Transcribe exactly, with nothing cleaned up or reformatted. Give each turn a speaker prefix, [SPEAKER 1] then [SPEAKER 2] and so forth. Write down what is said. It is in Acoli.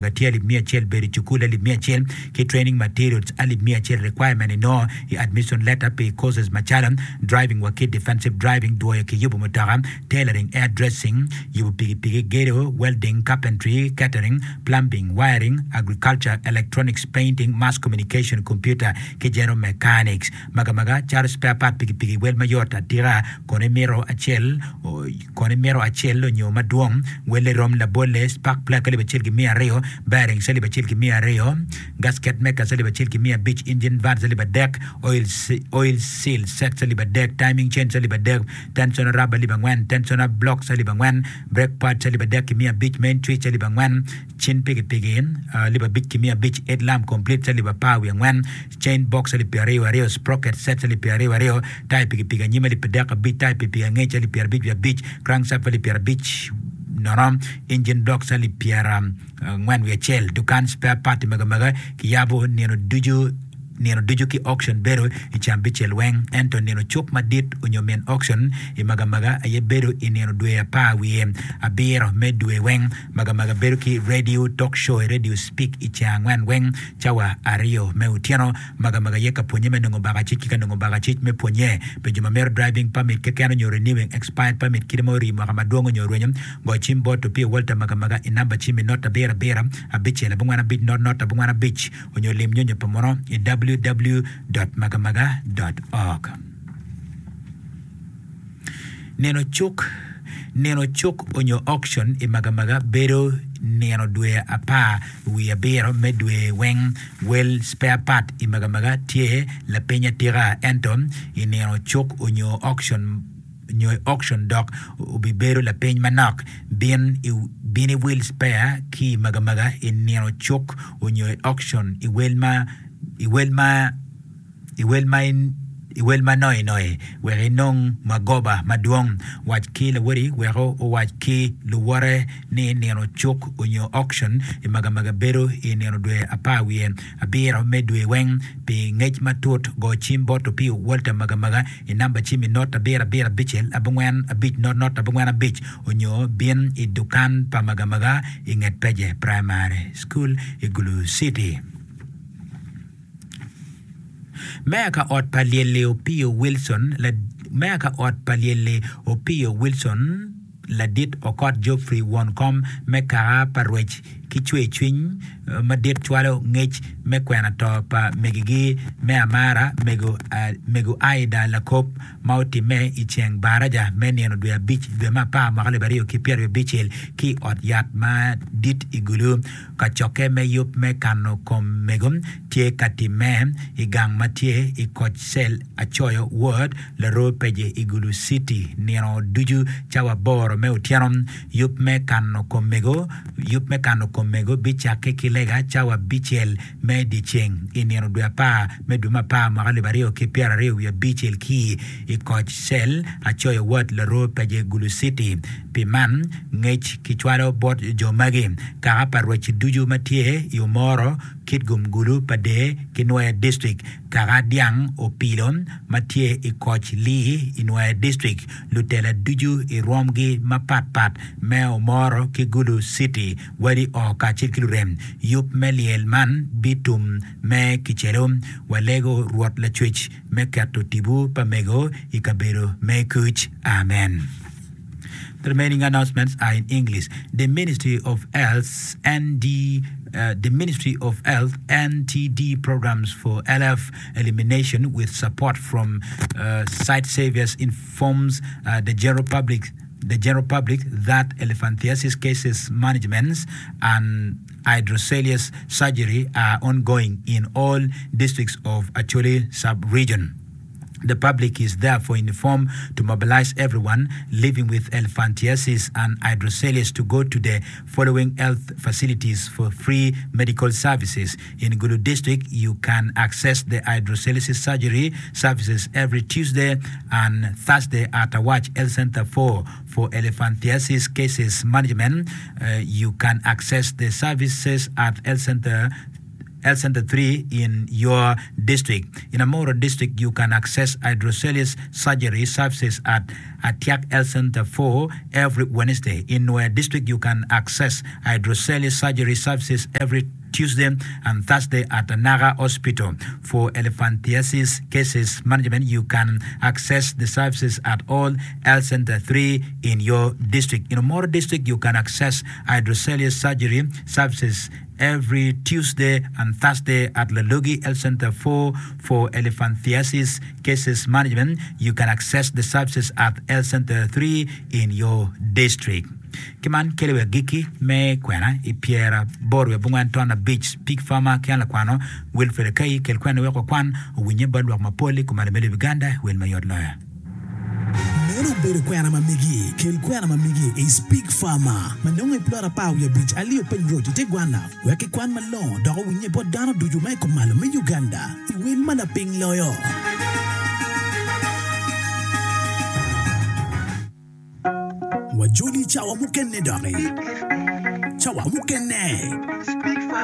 [SPEAKER 1] Tye alip miya acel bedo i cukul alip miya acel ki training materials alip miya acel requirement inongo i admission letter pi courses macalo driving wa ki defensive driving dwoyo ki yubo mutoka tailoring hair dressing yubo pikipiki gedo welding carpentry catering plumbing wiring agriculture electronics painting mass communication computer ki general mechanics magamaga calo spare part pikipiki wel mayot atika kono imito acel kono imito acel onyo madwong welle rom labolle spark plug alip acel ki miya aryo bearings alip acel ki miya aryo gasket makers alip acel ki miya abic engine valves alip adek oil, oil seal sets alip adek timing chains alip adek tensioner rubber alip angwen tensioner blocks alip angwen brake pads alip adek ki miya abic main switch alip angwen cin pikipiki alip abic ki miya abic headlamp complete alip apar wiye angwen chain box alip pyera aryo aryo sprocket sets alip pyera aryo aryo taya pikipiki anyim alip adek abic taya pikipiki angec alip pyera abic wiye abic crankshaft alip pyera abic nono engine blocks alip pyera angwen wiye acel dukan spare part magamaga kiyabo nino ducu nino ducu ki auction bedo i cambicel weng ento nino cuk madit onyo min auction i magamaga aye bedo i nino dwe apar wiye abiro me dwe weng magamaga bedo ki radio talk show radio speak i ceng angwen weng cawa aryo me otyeno magamaga ye ka pwonye me nongo bakacic ki ka nongo bakacic me pwonye pi jo ma mito driving permit keken onyo renewing expired permit kite ma ori mwaka madwong onyo orwenyo go cim bot Opio Walter Magamaga i namba cim i not abiro abiro abicel abongwen abic not not abongwen abic onyo lim nyonyo pa muno i www.magamaga.org. Nino cuk nino cuk onyo auction i Magamaga bedo nino dwe apar wiye abiro me dwe weng wel spare part i Magamaga tye lapiny atika ento i nino cuk onyo auction nyo auction dok obibedo lapiny manok bin i bin i wil spare ki i Magamaga i nino cuk onyo i auction i wel ma i wel ma i wel ma i wel ma noinoi wek inong magoba madwong wac ki lawoti wek owac ki luwote ni nino cuk onyo auction i Magamaga bedo i nino dwe apar wiye abiro me dwe weng pi ngec matut go cim bot Opio Walter Magamaga i namba cim i not abiro abiro abicel abongwen abic not not abongwen abic onyo bin i dukan pa Magamaga i nget Peje Primary School i Gulu City. Meya ka ot pa lyelli Opio Wilson la, meya ka ot pa lyelli Opio Wilson ladit Okot Geoffrey won kom me kaka pa rwec ki cwercwiny madit cwalo ngec me kwena to pa megigi me amara mego, uh, mego Aida Lakop ma otimme i ceng baraja me nino dwe abic dwe me apar mwaka alip aryo ki pyeraryo abicel ki ot yat madit i Gulu kacokke me yub me kano kom mego tye ka timme i gang ma tye i koc cel acoyo ward Laroo Peje i Gulu City nino ducu cawa aboro me otyeno yub me kano kom mego yub me kano kom mego bicakke ki lega cawa abicel me dyeceng i nino dwe apar me dwe me apar mwaka alip aryo ki pyeraryo wiye abicel ki i koc cel acoyo ward Laroo Peje Gulu City pi man ngec kicwalo bot jo magi kaka pa rwec ducu ma tye i Omoro Kitgum Gulu Pader ki Nwoya District kaka dyang Opilo ma tye i koc Lee i Nwoya District lutela ducu i rwomgi mapatpat me Omoro ki Gulu City wadi o kacel ki lurem yub me lyel man bitum me kicelo walego Rwot Lacwec me keto tipo pa mego i kabedo me kuc amen. The remaining announcements are in English. The Ministry of Health ND, uh, the Ministry of Health NTD programs for LF elimination with support from uh, Site Saviors informs uh, the general public the general public that elephantiasis cases management and hydrocephalus surgery are ongoing in all districts of Acholi sub-region. The public is therefore informed to mobilize everyone living with elephantiasis and hydrocephalus to go to the following health facilities for free medical services. In Gulu district, you can access the hydrocephalus surgery services every Tuesday and Thursday at Awach Health Center four. For elephantiasis cases management, uh, you can access the services at Health Center Health Center three in your district. In Amuru District, you can access hydroceles surgery services at Atiak Health Center four every Wednesday. In Nwoya District, you can access hydroceles surgery services every Tuesday and Thursday at Anaka Hospital. For elephantiasis cases management, you can access the services at all Health Center three in your district. In Omoro District, you can access hydroceles surgery services every Tuesday and Thursday at Lalogi Health Center four. For elephantiasis cases management, you can access the services at Health Center three in your district. Ki man kelo wi agikki me kwena i pyeraboro wiye abongwen ton abic Pig Farmer ki an lakwano Wilfred Akai kel kwena wek wakwan owinye bot lwak mapol i kumalo me lobo Uganda wel mayot loyo.
[SPEAKER 2] Meno obedo kwena ma megi. Kel kwena ma megi i Speak Farmer ma nongo i plot apar wiye abic Aliyo Peny Road i te Gwana wek kikwan malongo dok owinye bot dano ducu ma i kumalo me Uganda i wel ma lapiny loyo. Wajoli cawa mukene doki. Cawa mukene.